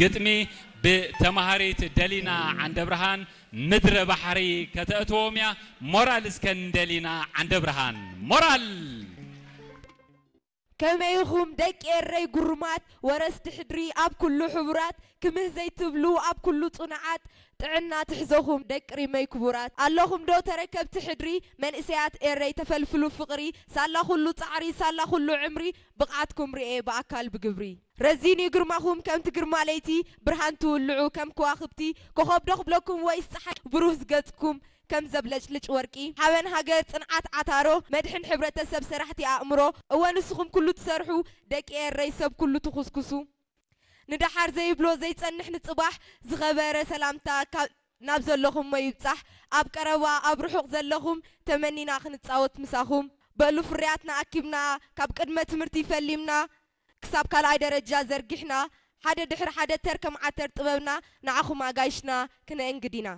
ግጥሚ ብተማሃሪት ደሊና ዓንደብርሃን ምድረ ባሕሪ ከተእትዎም እያ። ሞራል እስከ ንደሊና ዓንደብርሃን። ሞራል! ከመይ ኢኹም ደቂ ኤረይ ጉሩማት፣ ወረስቲ ሕድሪ ኣብ ኩሉ ሕቡራት፣ ክምህ ዘይትብሉ ኣብ ኩሉ ጽኑዓት፣ ጥዕና ትሕዘኹም ደቂ ሪመይ ክቡራት። ኣለኹም ዶ ተረከብቲ ሕድሪ፣ መንእሰያት ኤረይ ተፈልፍሉ ፍቕሪ፣ ሳላ ኩሉ ጻዕሪ፣ ሳላ ኩሉ ዕምሪ፣ ብቕዓትኩም ርኤ ብኣካል ብግብሪ። ረዚን እዩ ግርማኹም ከምቲ ግርማ ለይቲ፣ ብርሃን ትውልዑ ከም ከዋኽብቲ፣ ኮኸብ ዶ ክብለኩም ወይስ ጸሓይ ብሩህ ዝገጽኩም፣ ከም ዘብለጭልጭ ወርቂ ሓበን ሃገር ጽንዓት ዓታሮ መድሕን ሕብረተሰብ ሰራሕቲ ኣእምሮ እወ ንስኹም ኩሉ ትሰርሑ ደቂ ኤረይ ሰብ ኩሉ ትኹስኩሱ ንደሓር ዘይብሎ ዘይጸንሕ ንጽባሕ ዝኸበረ ሰላምታ ካብ ናብ ዘለኹሞ ይብጻሕ ኣብ ቀረባ ኣብ ርሑቕ ዘለኹም ተመኒና ክንጻወት ምሳኹም በሉ ፍርያትና ኣኪብና ካብ ቅድመ ትምህርቲ ፈሊምና ክሳብ ካልኣይ ደረጃ ዘርጊሕና ሓደ ድሕሪ ሓደ ተር ከም ዓተር ጥበብና ንዓኹም ኣጋይሽና ክነእንግድ ኢና።